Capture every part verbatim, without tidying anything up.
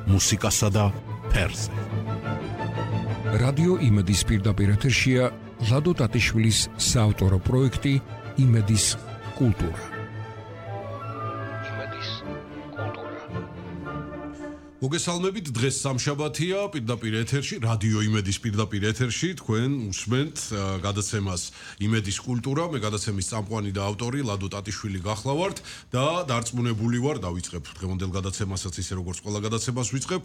მუსიკასა და ფერზე. რადიო იმედის პირდაპირ ეთერშია ლადო ტატიშვილის საავტორო პროექტი იმედის კულტურა. იმედის კულტურა. მოგესალმებით, დღეს სამშაბათია, პირდაპირ ეთერში, რადიო იმედის პირდაპირ ეთერში, თქვენ უსმენთ გადაცემას იმედის კულტურა, მე გადაცემის წამყვანი და ავტორი ლადო ტატიშვილი გახლავართ და დარწმუნებული ვარ, დავიწყებ დღევანდელ გადაცემასაც ისე როგორც ყველა გადაცემას ვიწყებ,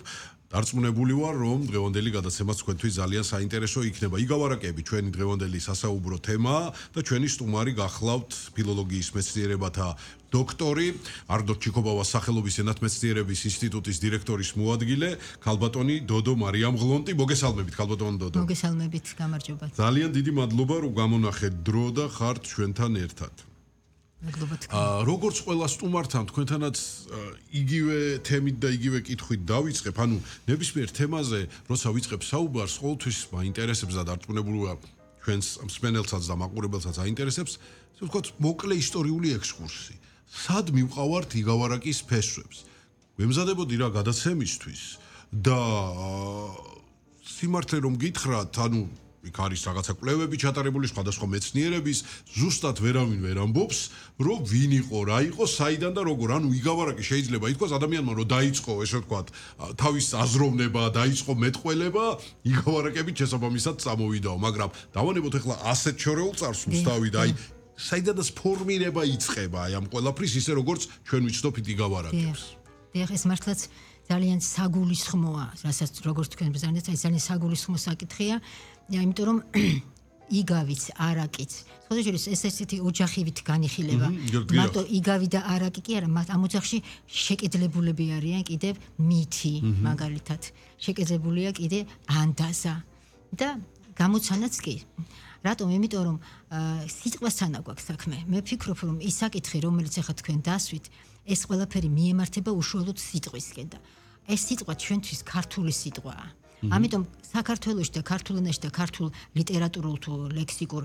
დარწმუნებული ვარ, რომ დღევანდელი გადაცემაც თქვენთვის ძალიან საინტერესო იქნება. იგავარაკები ჩვენი დღევანდელი სასაუბრო თემაა და ჩვენი სტუმარი გახლავთ ფილოლოგიის მეცნიერებათა დოქტორი, არდო ჩიკობავას სახელობის ენათმეცნიერების ინსტიტუტის დირექტორის მოადგილე, ქალბატონი დოდო მარიამ ღლონტი. მოგესალმებით, ქალბატონი დოდო. მოგესალმებით, გამარჯობა. ძალიან დიდი მადლობა, რომ გამონახეთ დრო და ხართ ჩვენთან ერთად. მადლობა თქვენ. აა როგორც ყველა სტუმართან თქვენთანაც იგივე თემით და იგივე კითხვით დავიწყებ, ანუ ნებისმიერ თემაზე, როცა ვიწყებ საუბარს, ყოველთვის მაინტერესებს და დარწმუნებული ვარ, ჩვენს მსმენელსაც და მაყურებელსაც აინტერესებს, ასე ვთქვათ, მოკლე ისტორიული ექსკურსი. სად მივყავართ იგავარაკის ფესვებს? ვემზადებოდი რა გადაცემისთვის და სიმართლე რომ გითხრათ, ანუ იქ არის რაღაცა კვლევები ჩატარებული სხვადასხვა მეცნიერების, ზუსტად ვერავინ ვერ ამბობს, რომ ვინ იყო, რა იყო, საიდან და როგორ. ანუ იგავარაკი შეიძლება ითქვას ადამიანმა რომ დაიწყო, ესე ვთქვათ, თავის აზროვნება, დაიწყო მეტყველება, იგავარაკებით შესაბამისად წამოვიდაო, მაგრამ დავანებოთ ახლა ასეთ შორეულ წარსულს დავიდა, აი საიდანაც ფორმირება იწყება აი ამ ყველაფრის ისე როგორც ჩვენ ვიცნობთ იგავარაკებს. დიახ, ეს მართლაც ძალიან საგულისხმოა, რასაც როგორც თქვენ ბრძანეთ, აი ძალიან საგულისხმო საკითხია, იმიტომ რომ იგავიც, არაკიც, სხვადასხვა ეს ესეთი ოჯახივით განიხილება. მარტო იგავი და არაკი კი არა, ამ ოჯახში შეკეძლებულები არიან კიდევ მითი, მაგალითად, შეკეძებულია კიდე ანდაზა და გამოცანაც კი. რატომ? იმიტომ რომ სიტყვასთან აქვს საქმე. მე ვფიქრობ, რომ ის საკითხი, რომელიც ახლა თქვენ დასვით, ეს ყველაფერი მიემართება უშუალოდ სიტყვისკენ და ეს სიტყვა ჩვენთვის ქართული სიტყვაა. ამიტომ საქართველოში და ქართულ ენაში და ქართულ ლიტერატურულ თუ ლექსიკურ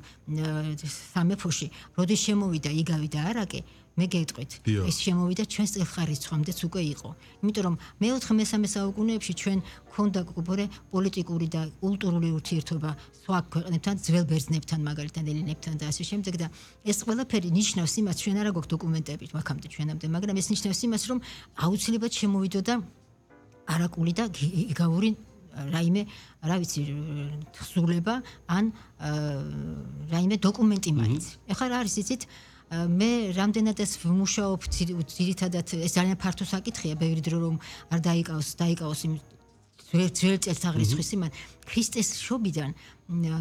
სამეფოში, როდის შემოვიდა იგავი და არაკი, მე გეტყვით, ეს შემოვიდა ჩვენს წელხარისცხვამდეც უკვე იყო. იმიტომ რომ მეოთხე მესამე საუკუნეებში ჩვენ ქონდა გქონდა პოლიტიკური და კულტურული ურთიერთობა სხვა ქვეყნებთან, ძველ ბერძნებთან, მაგალითად ელინებთან და ასე შემდეგ და ეს ყველაფერი ნიშნავს იმას, ჩვენ არა გვაქვს დოკუმენტები მაგამდე ჩვენამდე, მაგრამ ეს ნიშნავს იმას, რომ აუცილებლად შემოვიდოდა არაკული და იგავური რაიმე, რა ვიცი, თხზულება ან რაიმე დოკუმენტი მაინც. ეხლა რა არის იცით? მე რამდენადაც ვმუშაობ ძირითადად ეს ძალიან ფართო საკითხია, ბევრი დრო რომ არ დაიკავოს, დაიკავოს იმ ძველ წელთაღრიცხვის იმან ქრისტეს შობიდან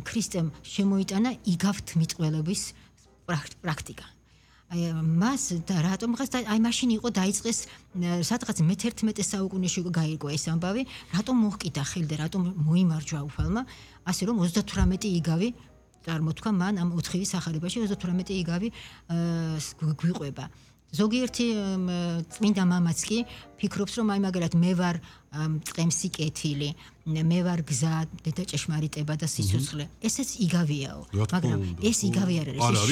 ქრისტემ შემოიტანა იგავთმიტყველების პრაქტიკა. აი მას და რატომ ხას აი მაშინ იყო დაიწყეს სადღაც მეთერთმეტე საუკუნეში გაირკვა ეს ამბავი, რატომ მოჰკიდა ხელი და რატომ მოიმარჯვა უფალმა, ასე რომ ოცდათვრამეტი იგავი წარმოთქვა მან ამ ოთხივის სახარებაში ოცდათვრამეტი იგავი გვიყვება. ზოგიერთი წმინდა მამაც კი ფიქრობს, რომ აი მაგალითად მე ვარ წყემსი კეთილი, მე ვარ გზა, დედა ჭეშმარიტება და სიცოცხლე. ესეც იგავიაო, მაგრამ ეს იგავი არ არის.